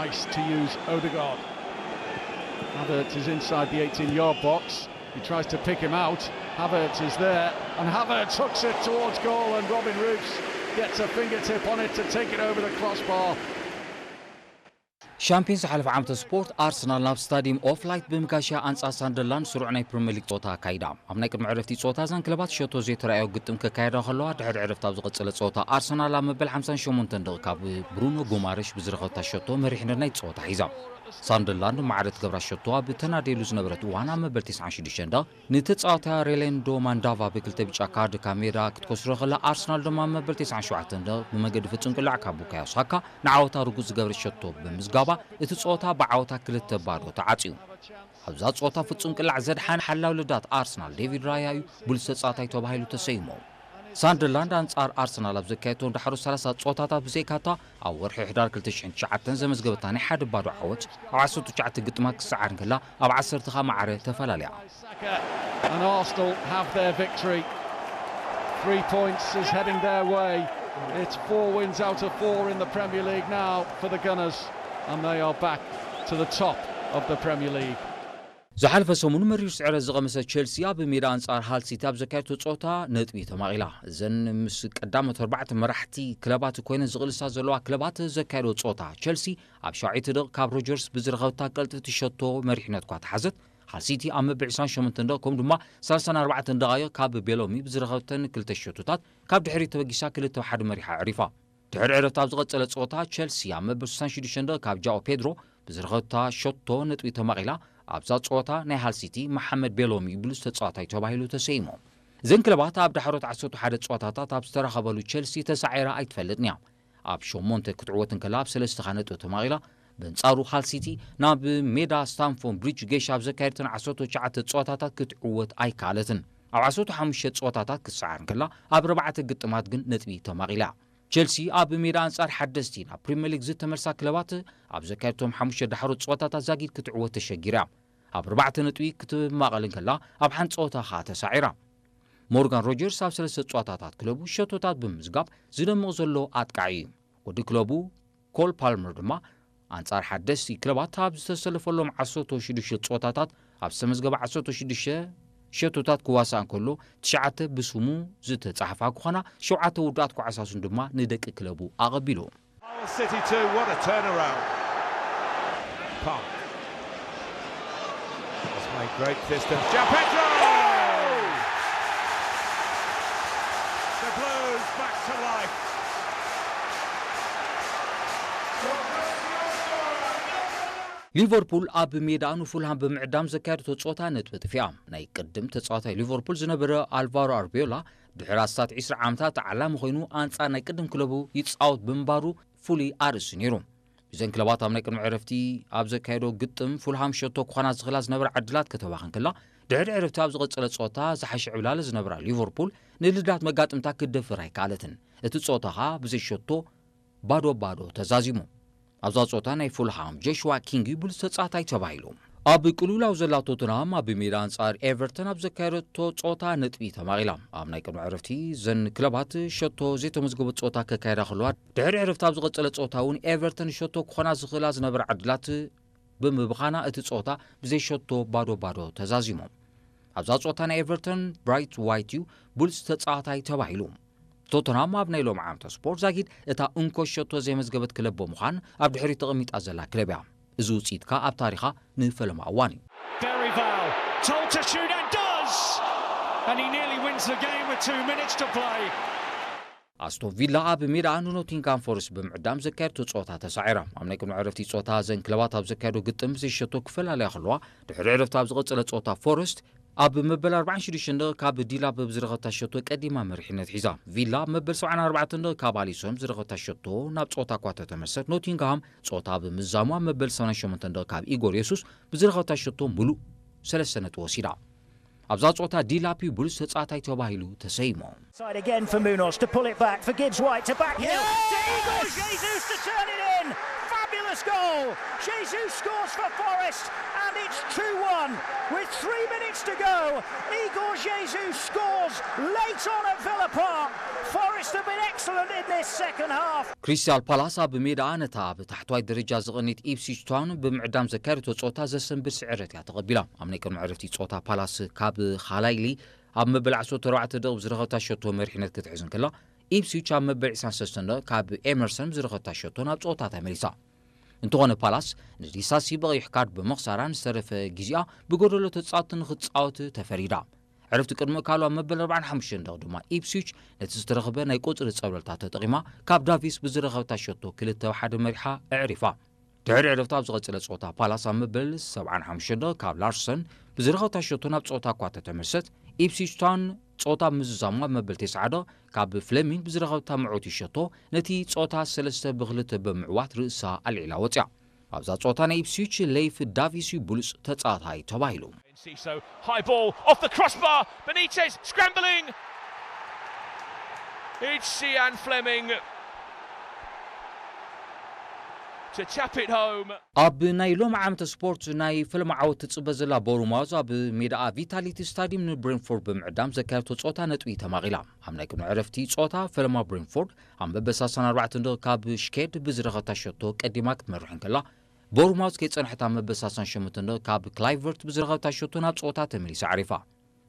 Nice to use Odegaard. Havertz is inside the eighteen-yard box. He tries to pick him out. Havertz is there, and Havertz hooks it towards goal, and Robin Roofs gets a fingertip on it to take it over the crossbar. ሻምፒዮንስ ዝሓለፈ ዓመተ ስፖርት ኣርሰናል ናብ ስታዲየም ኦፍ ላይት ብምጋሻ ኣንጻር ሳንደርላንድ ስሩዕ ናይ ፕሪምየር ሊግ ጸወታ ኣካይዳ። ኣብ ናይ ቅድሚ ዕረፍቲ ጸወታ እዘን ክለባት ሸቶ ዘይተራእዮ ግጥም ከካየዳ ከለዋ፣ ድሕሪ ዕረፍቲ ኣብ ዝቐጸለ ጸወታ ኣርሰናል ኣብ መበል ሓምሳን ሸሞንተን ደቂቃ ብብሩኖ ጉማረሽ ብዝረኸበታ ሸቶ መሪሕነት ናይ ጸወታ ሒዛ። ሳንደርላንድ ማዕረ ትገብራ ሸቶ ኣብ ተናደየሉ ዝነበረት እዋን ኣብ መበል ተስዓን ሽዱሽተን ደቂቃ ንተጻዋታ ሬሌንዶ ማንዳቫ ብክልተ ብጫ ካርድ ካብ ሜዳ ክትከስሮ ከላ፣ ኣርሰናል ድማ ኣብ መበል ተስዓን ሸውዓተን ደቂቃ ብመገዲ ፍጹም ቅላዕ ካብ ቡካዮ ሳካ ንዓወታ ርጉጽ ዝገብረ ሸቶ ብምዝጋባ፣ እቲ ጸወታ ብዓወታ ክልተ ባዶ ተዓጽዩ። ኣብዛ ጸወታ ፍጹም ቅላዕ ዘድሓነ ሓላው ልዳት ኣርሰናል ዴቪድ ራያ እዩ ብሉጽ ተጻዋታይ ተባሂሉ ተሰይሙ። ሳንደርላንድ ኣንጻር ኣርሰናል ኣብ ዘካየቶም ዳሕሮ ሰላሳ ጸወታታት ብዘይካታ ኣብ ወርሒ ሕዳር ክልተ ሽሕን ትሽዓተን ዘመዝገበታ ናይ ሓደ ባዶ ዓወት ኣብ ዓሰርተ ትሽዓተ ግጥማት ክሰዓር እንከላ፣ ኣብ ዓሰርተ ከኣ ማዕረ ተፈላልያ። And Arsenal have their victory. Three points is heading their way. It's four wins out of four in the Premier League now for the Gunners, and they are back to the top of the Premier League. ዝሓለፈ ሰሙን መሪር ስዕረት ዝቐመሰ ቸልሲ ኣብ ሜዳ ኣንጻር ሃል ሲቲ ኣብ ዘካየደቶ ጸወታ ነጥቢ ተማቒላ። እዘን ምስ ቀዳሞት ኣርባዕተ መራሕቲ ክለባት ኮይነን ዝቕልሳ ዘለዋ ክለባት ዘካየዶ ጸወታ፣ ቸልሲ ኣብ ሻውዓይቲ ደቂቕ ካብ ሮጀርስ ብዝረኸበታ ቀልጥፍቲ ሸቶ መሪሕነት እኳ ተሓዘት፣ ሃል ሲቲ ኣብ መበል ዕስራን ሸሞንተን ደቂቕ ከምኡ ድማ ሰላሳን ኣርባዕተን ደቓይቕ ካብ ቤሎሚ ብዝረኸበተን ክልተ ሸቶታት ካብ ድሕሪት ተበጊሳ ክልተ ሓደ መሪሓ ኣዕሪፋ። ድሕሪ ዕረፍቲ ኣብ ዝቐጸለ ጸወታ፣ ቸልሲ ኣብ መበል ስሳን ሽዱሽተን ደቂቕ ካብ ጃኦ ፔድሮ ብዝረኸበታ ሸቶ ነጥቢ ተማቒላ። ኣብዛ ጸወታ ናይ ሃል ሲቲ መሓመድ ቤሎሚ ብሉጽ ተጻዋታይ ተባሂሉ ተሰይሙ። እዘን ክለባት ኣብ ዳሕሮት ዓሰርተ ሓደ ጸወታታት ኣብ ዝተራኸበሉ፣ ቸልሲ ተሳዒራ ኣይትፈልጥን እያ። ኣብ ሸሞንተ ክትዕወት እንከላ፣ ኣብ ሰለስተ ከኣ ነጥቢ ተማቒላ። በንጻሩ፣ ሃል ሲቲ ናብ ሜዳ ስታምፎርድ ብሪጅ ገይሻ ኣብ ዘካየደተን ዓሰርተ ትሽዓተ ጸወታታት ክትዕወት ኣይከኣለትን። ኣብ ዓሰርተ ሓሙሽተ ጸወታታት ክትሰዓር እንከላ፣ ኣብ ኣርባዕተ ግጥማት ግን ነጥቢ ተማቒላ። ቸልሲ ኣብ ሜዳ ኣንጻር ሓደስቲ ናብ ፕሪምየር ሊግ ዝተመልሳ ክለባት ኣብ ዘካየደቶም ሓሙሽተ ዳሕሮት ጸወታታት ዛጊድ ክትዕወት ተሸጊራ። ኣብ ኣርባዕተ ነጥቢ ክትማቐል እንከላ፣ ኣብ ሓንቲ ጸወታ ከኣ ተሳዒራ። ሞርጋን ሮጀርስ ኣብ ሰለስተ ጸወታታት ክለቡ ሸቶታት ብምዝጋብ ዝደምቕ ዘሎ ኣጥቃዒ እዩ። ወዲ ክለቡ ኮል ፓልመር ድማ ኣንጻር ሓደስቲ ክለባት ኣብ ዝተሰለፈሎም ዓሰርተ ሽዱሽተ ጸወታታት ኣብ ዝተመዝገበ ዓሰርተ ሽዱሽተ ሸቶታት ክዋሳእ እንከሎ፣ ትሽዓተ ብስሙ ዝተጻሕፋ ክኾና፣ ሸውዓተ ውዱኣት ኳዕሳሱን ድማ ንደቂ ክለቡ ኣቐቢሉ። Hull City two, what a turnaround. Park. Has made great distance. João Pedro! The Blues back to life. ሊቨርፑል ኣብ ሜዳኣ ንፉልሃም ብምዕዳም ዘካየደቶ ጸወታ ነጥቢ ጥፊኣ። ናይ ቅድም ተጻዋታይ ሊቨርፑል ዝነበረ ኣልቫሮ ኣርቤዮላ ድሕሪ ኣስታት ዕስራ ዓመታት ተዓላሚ ኮይኑ ኣንጻር ናይ ቅድም ክለቡ ይጻወት ብምንባሩ ፍሉይ ኣርእስቲ ነይሩ። እዘን ክለባት ኣብ ናይ ቅድሚ ዕረፍቲ ኣብ ዘካየዶ ግጥም ፉልሃም ሸቶ ክኾና ዝኽእላ ዝነበራ ዕድላት ከተባኽን ከላ፣ ድሕሪ ዕረፍቲ ኣብ ዝቐጸለ ጸወታ ዝሓሸ ዕብላለ ዝነበራ ሊቨርፑል ንልዳት መጋጥምታ ክትደፍር ኣይከኣለትን። እቲ ጸወታ ኸኣ ብዘይ ሸቶ ባዶ ባዶ ተዛዚሙ። ኣብዛ ጸወታ ናይ ፉልሃም ጆሽዋ ኪንግ እዩ ብሉጽ ተጻዋታይ ተባሂሉ። ኣብ ቅልውላው ዘላ ቶተንሃም ኣብ ሜዳ ኣንጻር ኤቨርተን ኣብ ዘካየደቶ ጸወታ ነጥቢ ተማቒላ። ኣብ ናይ ቅድሚ ዕረፍቲ እዘን ክለባት ሸቶ ዘይተመዝገበ ጸወታ ከካየዳ ከለዋ፣ ድሕሪ ዕረፍቲ ኣብ ዝቐጸለ ጸወታ እውን ኤቨርተን ሸቶ ክኾና ዝኽእላ ዝነበራ ዕድላት ብምብኻና እቲ ጸወታ ብዘይ ሸቶ ባዶ ባዶ ተዛዚሙ። ኣብዛ ጸወታ ናይ ኤቨርተን ብራይት ዋይት እዩ ብሉጽ ተጻዋታይ ተባሂሉ። ቶተንሃም ኣብ ናይ ሎሚ ዓመተ ስፖርት ዛጊድ እታ እንኮ ሸቶ ዘይመዝገበት ክለብ ብምዃን ኣብ ድሕሪት ተቐሚጣ ዘላ ክለብ እያ። እዚ ውጽኢት ከኣ ኣብ ታሪኻ ንፈለማ እዋን እዩ። Berryvale told to shoot and does! And he nearly wins the game with two minutes to play. ኣስቶን ቪላ ኣብ ሜዳኣ ንኖቲንግሃም ፎረስት ብምዕዳም ዘካየደቶ ጸወታ ተሳዒራ። ኣብ ናይ ቅድሚ ዕረፍቲ ጸወታ እዘን ክለባት ኣብ ዘካየዶ ግጥም ብዘይ ሸቶ ክፈላለያ ከለዋ፣ ድሕሪ ዕረፍቲ ኣብ ዝቐጸለ ጸወታ ፎረስት ኣብ መበል ኣርባዓን ሽዱሽተን ደቂቕ ካብ ዲላፕ ብዝረኸብታ ሸቶ ቀዲማ መሪሕነት ሒዛ። ቪላ ኣብ መበል ሰብዓን ኣርባዕተን ደቂቕ ካብ ኣሊሶን ብዝረኸብታ ሸቶ ናብ ጸወታ እኳ ተተመልሰት፣ ኖቲንግሃም ጸወታ ብምዛሙ ኣብ መበል ሰብዓን ሸሞንተን ደቂቕ ካብ ኢጎር የሱስ ብዝረኸብታ ሸቶ ምሉእ ሰለስተ ነጥቢ ወሲዳ። ኣብዛ ጸወታ ዲላፕ እዩ ብሉጽ ተጻዋታይ ተባሂሉ ተሰይሙ። Side again for Munoz to pull it back for Gibbs White to back Hill to Igor Jesus to turn it in. Fabulous goal. Jesus scores for Forest and it's two one with three minutes to go. Igor Jesus scores late on at Villa Park. Forest have been excellent in this second half. ክሪስታል ፓላስ ኣብ ሜዳኣ ነታ ኣብ ታሕተዋይ ደረጃ ዝቐነየት ኢፕስዊች ታውን ብምዕዳም ዘካየደቶ ጸወታ ዘሰንብድ ስዕረት እያ ተቐቢላ። ኣብ ናይ ቅድሚ ዕረፍቲ ጸወታ ፓላስ ካብ ኻላይሊ ኣብ መበል ዓሰርተ ኣርባዕተ ደቂቕ ብዝረኸብታ ሸቶ መሪሕነት ክትሕዝ እንከላ፣ ኢፕስዊች ኣብ መበል ዕስራን ሰለስተን ደቂቕ ካብ ኤመርሰን ብዝረኸብታ ሸቶ ናብ ጸወታ ተመሊሳ። እንተኾነ ፓላስ ንዲሳሲ ብቐይሕ ካርድ ብምኽሳራ ንዝተረፈ ግዜኣ ብጎደሎ ተጻወትቲ ንክትጻወት ተፈሪዳ። ዕረፍቲ ቅድሚ ካልዋ መበል ኣርባዓን ሓሙሽተን ደቕ ድማ ኢፕስዊች ነቲ ዝተረኽበ ናይ ቁጽሪ ጸብለልታ ተጠቒማ ካብ ዳቪስ ብዝረኸብታ ሸቶ ክልተ ሓደ መሪሓ ኣዕሪፋ። ድሕሪ ዕረፍቲ ኣብ ዝቐጸለ ጸወታ ፓላስ ኣብ መበል ሰብዓን ሓሙሽተን ደቕ ካብ ላርሰን ብዝረኸብታ ሸቶ ናብ ጸወታ እኳ ተተመልሰት፣ ኢፕስዊች ታውን ጸወታ ምዝዛሙ ኣብ መበል ተስዓ ደቕ ካብ ፍለሚንግ ብዝረኸብታ ምዕውቲ ሸቶ ነቲ ጸወታ ሰለስተ ብክልተ ብምዕዋት ርእሳ ኣልዒላ ወጽያ። ኣብዛ ጸወታ ናይ ኢፕስዊች ሌይፍ ዳቪስ እዩ ብሉጽ ተጻዋታይ ተባሂሉ። Enciso, high ball off the crossbar. Benitez scrambling. It's Sian Fleming to tap it home. ኣብ ናይ ሎሚ ዓመተ ስፖርት ናይ ፈለማ ዓወት ትጽበ ዘላ ቦርማውዝ ኣብ ሜዳኣ ቪታሊቲ ስታዲየም ንብሬንፎርድ ብምዕዳም ዘካየደቶ ጸወታ ነጥቢ ተማቒላ። ኣብ ናይ ቅድሚ ዕረፍቲ ጸወታ ፈለማ ብሬንፎርድ ኣብ መበል ሰላሳን ኣርባዕተን ደቕ ካብ ሽኬድ ብዝረኸብታ ሸቶ ቀዲማ ክትመርሕ እንከላ፣ ቦርማውዝ ከይጸንሐት ኣብ መበል ሰላሳን ሸሞንተን ደቕ ካብ ክላይቨርት ብዝረኸብታ ሸቶ ናብ ጸወታ ተመሊሳ ኣዕሪፋ።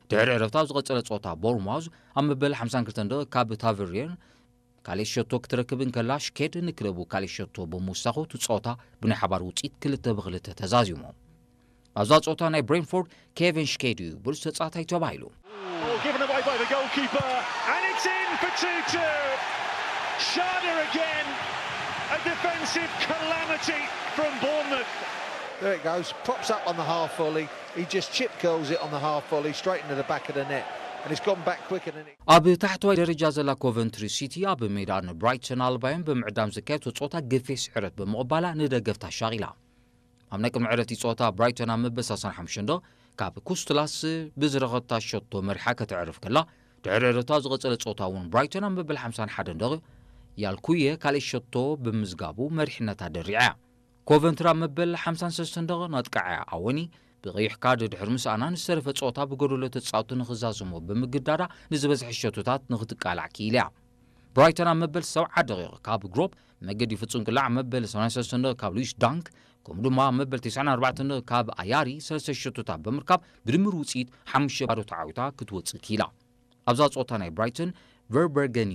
ድሕሪ ዕረፍቲ ኣብ ዝቐጸለ ጸወታ ቦርማውዝ ኣብ መበል ሓምሳን ክልተን ደቕ ካብ ታቨሪየር ካልእ ሸቶ ክትረክብ እንከላ፣ ሽኬድ ንክለቡ ካልእ ሸቶ ብምውሳኹ እቲ ጸወታ ብናይ ሓባር ውጽኢት ክልተ ብክልተ ተዛዚሙ። ኣብዛ ጸወታ ናይ ብሬንፎርድ ኬቨን ሽኬድ እዩ ብሉጽ ተጻዋታይ ተባሂሉ። Ball given away by the goalkeeper, and it's in for two two. Schade again. A defensive calamity from Bournemouth. There it goes, pops up on the half volley. He just chip curls it on the half volley, straight into the back of the net. And it's gone back quicker than it. ኣብ ታሕተዋይ ደረጃ ዘላ ኮቨንትሪ ሲቲ ኣብ ሜዳ ንብራይተን ኣልባዮን ብምዕዳም ዘካየደቶ ጸወታ ገፊሕ ስዕረት ብምቕባላ ንደገፍታ ኣሻቒላ። ኣብ ናይ ቅድሚ ዕረፍቲ ጸወታ ብራይተን ኣብ መበል ሰላሳን ሓሙሽተን ደቕ ካብ ኩስትላስ ብዝረኸብታ ሸቶ መሪሓ ከተዕርፍ ከላ፣ ድሕሪ ዕረፍቲ ኣብ ዝቐጸለ ጸወታ እውን ብራይተን ኣብ መበል ሓምሳን ሓደን ደቕ ያልኩየ ካልእ ሸቶ ብምዝጋቡ መሪሕነታ ደሪዓ እያ። ኮቨንትሪ ኣብ መበል ሓምሳን ሰለስተን ደቕ ነጥቃዓያ ኣወኒ ብቐይሕ ካርድ ድሕሪ ምስኣና ንዝተረፈ ጸወታ ብጎደሎ ተጻወቱ ንኽዛዘሞ ብምግዳዳ ንዝበዝሐ ሸቶታት ንኽትቃላዕ ክኢላ እያ። ብራይተን ኣብ መበል ሰብዓ ደቂቕ ካብ ግሮፕ መገዲ ፍጹም ቅላዕ መበል ሰማንያን ሰለስተን ካብ ሉዊስ ዳንክ ከምኡ ድማ ኣብ መበል ተስዓን ኣርባዕተን ካብ ኣያሪ ሰለስተ ሸቶታት ብምርካብ ብድምር ውጽኢት ሓሙሽተ ባዶ ተዓዊታ ክትወጽእ ክኢላ። ኣብዛ ጸወታ ናይ ብራይተን ቨርበርገን